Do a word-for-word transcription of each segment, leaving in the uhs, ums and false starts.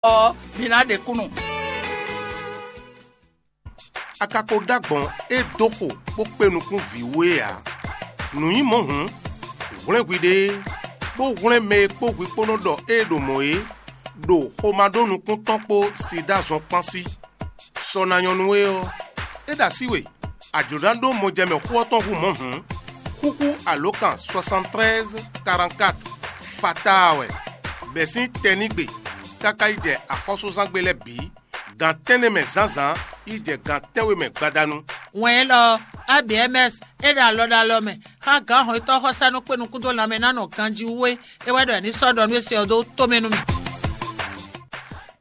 Ɔ́, mi ná ɖe kúnnu. A ka ko ɖó agbɔ̌n e dó xo bó kpé nukún vǐ wú é ǎ. Nǔ nyí mɔ̌ hǔn, hwlɛ́n hwiɖée, bó hwlɛ́n mɛ e kpó hwi kpó nɔ ɖɔ ée ɖo mɔ̌ é, ɖo xomá ɖó nukún tɔn kpó Siɖa zɔn kpán sí. Sɔ ná nyɔ́ nú we ɔ́, é ɖo así we, a jlǒ ná ɖó mɔjɛmɛ xó ɔ́ tɔn hú mɔ̌ hǔn, xúxú alǒkan soixante-treize quarante-quatre fataa wɛ, bɛ̌ sín tɛnígbe káká yi jɛ axɔ́súzángbe lɛ́ɛ bǐ, gan tɛ́nnɛ mɛ zǎnzǎn yi jɛ gan tɛ́nwe mɛ gbadanu. Wɛn élɔ́ ɔ́, A B M S é ɖo alɔ ɖo alɔ mɛ xá gǎn hɔnnyitɔ́ xɔsánú kpé nukún dó lanmɛ ná nɔ ganjí wú é. É wɛ ɖɔ è ní sɔ́ ɖɔ nú é se ɔ́ dó tomɛ nú mì.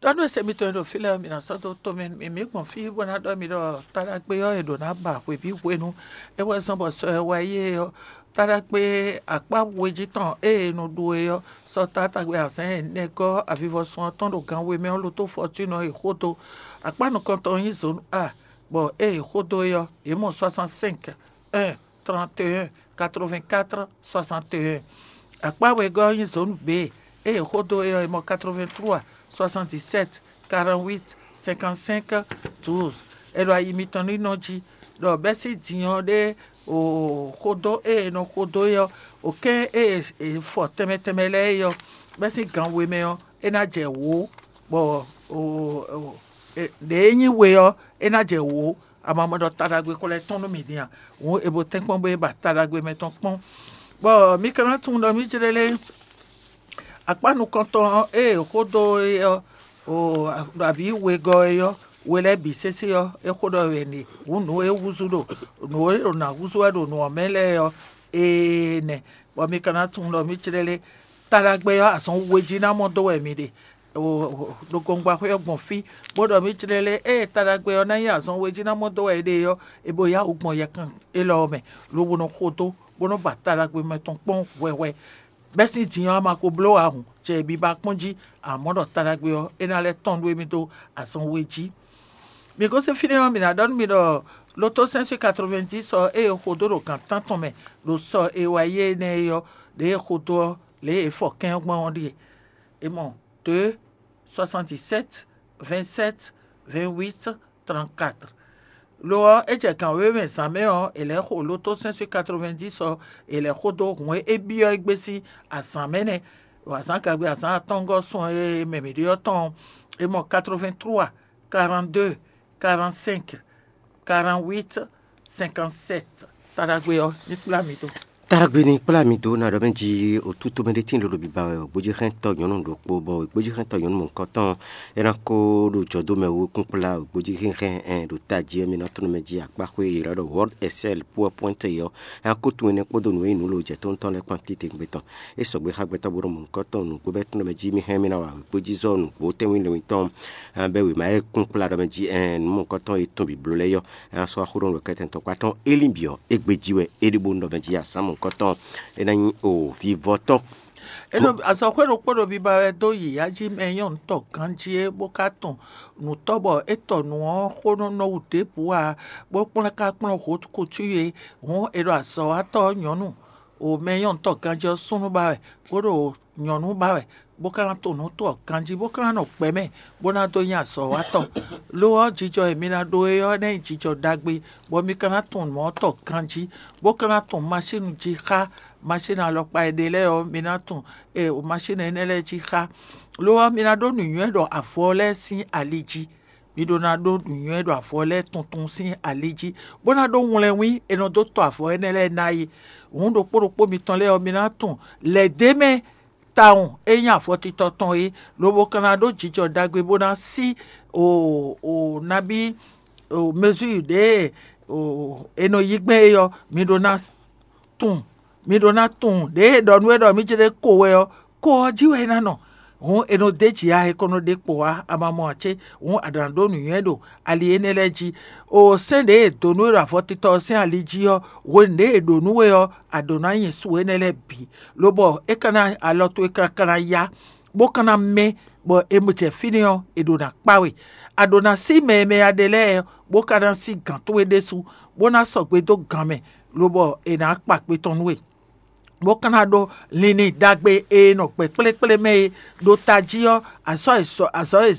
Ɖɔ nú ese mitɔn e ɖo fí lɛ́ɛ ɔ́, mi ná sɔ́ dó tomɛ nú mì. Mǐ gbɔn fí bó ná ɖɔ mi ɖɔ taɖagbe ɔ́, è ɖǒ ná ba hwebǐ hwenu. É wɛ zɔ́n bɔ sɔ e wá yi é ɔ́, taɖagbe akpá we jí tɔn e è nɔ ɖu é ɔ́, sɔ taátagbe azǎn ɛnɛ gɔ́ avivɔsun ɔ́ tɔn ɖo gan we mɛ ɔ́, lotó fɔtúnɔ e xódó. Akpá nukɔntɔn nyí zǒnu A, bɔ ée è xódó é ɔ́, yě mɔ soixante-cinq, un, trente et un, quatre-vingt-quatre, soixante et un. Akpá wegɔ́ ɔ́ nyí zǒnu B, ée è xódó é ɔ́, è mɔ quatre-vingt-trois, soixante-dix-sept, quarante-huit, cinquante-cinq, douze. È ɖo ayi mitɔn ní nɔ jí, ɖɔ bɛ́ sín din ɔ́ ɖé o xódó e è nɔ xódó é ɔ́, o kɛ́n e è fɔ tɛnmɛ tɛnmɛ lɛ́ɛ é ɔ́, bɛ́ sín gan we mɛ ɔ́, é ná jɛ wǒ, bɔ ɖě e nyí we ɔ́, é ná jɛ wǒ. Amamɔ ɖɔ taɖagbe xlɛ́ tɔn nú mì din a? Hǔn è bo tɛ́nkpɔ́n bó e ba taɖagbe mɛ tɔn kpɔ́n, bɔ mi ka ná tunwun ɖɔ mǐ jlé lé. Akpá nukɔntɔn ɔ́, ée è xó dó é ɔ́, o ɖo abǐ wegɔ́ é ɔ́, we lɛ́ɛ bǐ sésé ɔ́, é xó ɖɔ wɛ nǐ hǔn nǔ e húzú ɖo nǔ e ɖo nǎ húzú wɛ ɖo nǔ ɔ́ mɛ lɛ́ɛ ɔ́, ee nɛ́, bɔ mi ka ná tunwun ɖɔ mǐ clɛ́ lé. Taɖagbe ɔ́, azɔn we jí ná mɔ dó wɛ mi ɖe. Ɖo gɔngbaxwé ɔ́ gbɔn fí, bó ɖɔ mǐ clɛ́ lé, ée taɖagbe ɔ́ ná nyí azɔn we jí ná mɔ dó wɛ é ɖe ɔ́, é bo yá wǔ gbɔn yɛkan élɔ́ ɔ́ mɛ, lobo nɔ xo dó, bó nɔ́ ba taɖagbe mɛ tɔn kpɔ́n hwɛhwɛ. Bɛ́ sín din ɔ́, a ma ko bló ǎ hǔn, jɛ biba kpɔ́n jí, amɔ̌ ɖɔ taɖagbe ɔ́, é ná lɛ́ tɔ́n nú émí dó azɔn we jí. Mǐ gosín fínɛ́ ɔ́, mǐ ná ɖɔ nú mi ɖɔ lotó cinq cent quatre-vingt-dix ɔ́, ée è xo dó ɖo gǎn tántɔn mɛ ɖo sɔ e wá yi énɛ́ é ɔ́, ɖěe è xo dó ɔ́, lě e è fɔ kɛ́n ɔ́ gbɔn ɔ́ ɖíe: è mɔ deux, soixante-dix-sept, vingt-sept, vingt-huit, trente-quatre. Lo ɔ́, é jɛ gǎn wěwe mɛ zǎn mɛ ɔ́, è lɛ̌ xo lotó cinq cent quatre-vingt-dix ɔ́, è lɛ̌ xo dó hǔn e é byɔ́ é gbé sín azǎn mɛ nɛ́. Azǎn gagbe azǎn atɔ́ɔ́ngɔ́ sun e mɛ mǐ ɖe ɔ́ tɔn ɔ́, è mɔ quatre-vingt-trois, quarante-deux, quarante-cinq, quarante-huit, cinquante-sept. Taɖagbe ɔ́ ní kplá mi dó. Taɖagbe ní kplá mi dó ná ɖɔ mɛ jí òtútó mɛ ɖé tín lolo biba wɛ ògbójíhɛntɔ́ nyɔ̌nu ɖokpó, bɔ ògbójíhɛntɔ́ nyɔ̌nu mɔ̌hunkɔtɔn é ná kó ɖo jɔ̌dómɛ wú kún kplá ògbójíhɛnhɛn ɛn ɖo tají ɔ́, mi ná tɔ́n mɛ jí akpáxwé e è nɔ ɖɔ World Excel PowerPoint é ɔ́, é ná kó tun énɛ́ kpódó nǔ e nyí nǔ lo jɛ tóntɔ́n lɛ́ɛ kpán títewungbe tɔn. É sɔgbe xá gbɛtɔ́ bó ɖo mɔ̌hunkɔtɔn nǔgbó bɛ́ tɔn mɛ jí mì hɛn mì ná wa wěkpójízɔ́ nǔgbó tɛ́nwún lɛ́nwún tɔn, bɛ́ wěma e kún kplá ɖɔ mɛ jí ɛn nǔ mɔ̌hunkɔtɔn e tɔn bǐbló lɛ́ɛ yɔ, é ná sɔ́ wá xó ɖɔ nǔ ɖɔ kɛ́tɛ́ntɔ́kpá tɔn é lín bǐ ɔ́, égbé jí wɛ é ɖi bó nɔ mɛ jí azǎn mɔ̌hunkɔtɔn, é ná nyí o vivɔtɔ́. Azɔ̌xwé ɖokpó ɖo biba wɛ dó yǐyá jí mɛ nyɔ́nutɔ́ ganjí é, bó ka tɔn nǔtɔ́ bɔ é tɔ nǔ ɔ́ xó nɔ nɔ wú ɖěbǔ ǎ, bó kplɔ́n ka kplɔ́n hǒkutú e hǔn è ɖo azɔ̌watɔ́ ɔ́ nyɔ̌nu o mɛ nyɔ́nutɔ́ ganjí ɔ́ súnnu ba wɛ, bó ɖo nyɔ̌nu ba wɛ, bó ka ná to nǔ tɔn ganjí, bó ka ná nɔ gbɛ̌ mɛ, bó ná dó nyí azɔ̌watɔ́. Lo ɔ́, jijɔ e mi ná ɖó é ɔ́ ná nyí jijɔ ɖagbe, bɔ mi ka ná tunwun nǔ ɔ́ tɔn ganjí, bó ka ná tunwun masínu jí xá masínu alɔkpa e ɖe lɛ́ɛ ɔ́, mi ná tunwun e masínu énɛ́ lɛ́ɛ jí xá. Lo ɔ́, mi ná ɖó nǔnywɛ́ ɖo avɔ lɛ́ɛ sín ali jí. Mi ɖó ná ɖó nǔnywɛ́ ɖo avɔ lɛ́ɛ tuntun sín ali jí, bó ná ɖó wlɛnwín e nɔ dó tɔ avɔ énɛ́ lɛ́ɛ ná é. Hǔn ɖokpó ɖokpó mitɔn lɛ́ɛ ɔ́, mi ná tunwun lɛ̌ d'é mɛ tawun e nyí afɔtitɔ tɔn é, lobo ka ná ɖó jijɔ ɖagbe bó ná sí o o nabí o mezúyi ɖě o è nɔ yí gbɛn é ɔ́, mi ɖó ná tunwun, mi ɖó ná tunwun ɖěe è ɖɔ nú we ɖɔ mǐ jlé ko wɛ ɔ́, ko ɔ́ jí wɛ é ná nɔ. Hǔn è nɔ d'é jǐ ǎ, è ko nɔ ɖe kpo ǎ, a ma mɔ ǎ cé? Hǔn a ɖǒ ná ɖó nǔnywɛ́ ɖo ali énɛ́ lɛ́ɛ jí. O sɛ́n ɖě è dǒ nú we ɖo avɔtitɔ ɔ́ sín ali jí ɔ́, hwenu ɖě è ɖǒ nú we ɔ́, a ɖǒ ná nyi su énɛ́ lɛ́ɛ bǐ, lobɔ é ka ná alɔ towe káká ná yá, bó ka ná mɛ́, bɔ è jɛ fínɛ́ ɔ́, è ɖǒ ná kpá we. A ɖǒ ná sí mɛ e mɛ a ɖe lɛ́ɛ, bó ka ná sí gǎn towe ɖésú, bó ná sɔgbe dó gan mɛ, lobɔ è nǎ kpa kpe tɔn nú we. bó ka ná ɖó linlin ɖagbe e nɔ gbɛ kplékplé mɛ é. Ɖo tají ɔ́, azɔ̌ e sɔ azɔ̌ e